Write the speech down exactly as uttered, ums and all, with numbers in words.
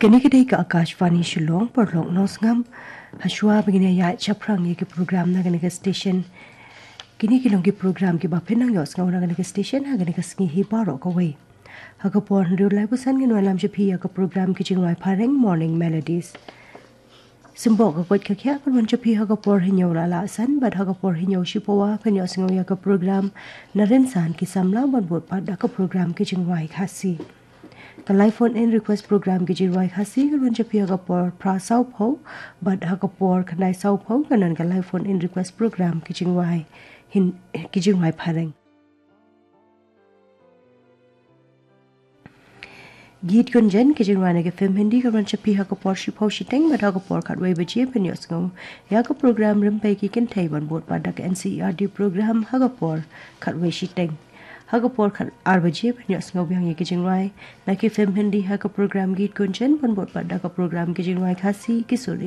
Kane ka dei ka Akashvani Shillong, paralok nongsngap. Hashwa ba ngin ïa shaphrang ïa ki program na kane ka station, kine ki long ki program kiba phin nang ïohsngew na kane ka station ha kane ka sngi hi baroh kawei. Ha ka por hynriew lai basan ngin wanlam sha phi ïa ka program ki jingrwai phareng, Morning Melodies. Symboh ka koit ka khiah kan wan sha phi ha ka por hynñiew la la san, bad ha ka por hynñiew shipawa phin ïohsngew ïa ka program Na Rynsan ki Samla, ban bud pat da ka program ki jingrwai Khasi. Ka live phone in request program ki jingrwai Khasi kan wan sha phi ha ka por phra sawphew, bad ha ka por khyndai sawphew kan don ka live phone in request program ki jingrwai Hin-, ki jingrwai phareng. Geet Gunjan ki jingrwai na ki film Hindi kan wan sha phi ha ka por shiphew shiteng, bad ha ka por khatwei baje phin ïohsngew ïa ka program Rympei ki Kynthei, ban bud pat da ka N C E R T program ha ka por khatwei shiteng. Ha ka por khat-, ar baje phin ïohsngew biang ïa ki jingrwai na ki film Hindi ha ka program Geet Gunjan, ban bud pat da ka program ki jingrwai Khasi, ki sur